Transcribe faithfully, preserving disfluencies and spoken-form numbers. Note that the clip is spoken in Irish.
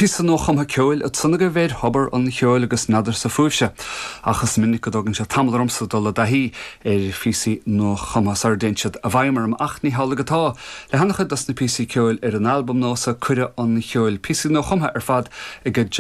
Píosa nuachumtha ceoil ansan agaibh ar Thobar an Cheoil agus n'fheadarsa fúibhse. Ach is minic go dtógann sé tamall ormsa dul i dtaithí ar phíosaí nuachumtha sara dtéann siad i bhfeidhm orm ach ní hamhlaidh atá. Le han-chuid dos na píosaí ceoil ar an albam nua Cuireadh an Cheoil píosaí nuachumtha ar fad ag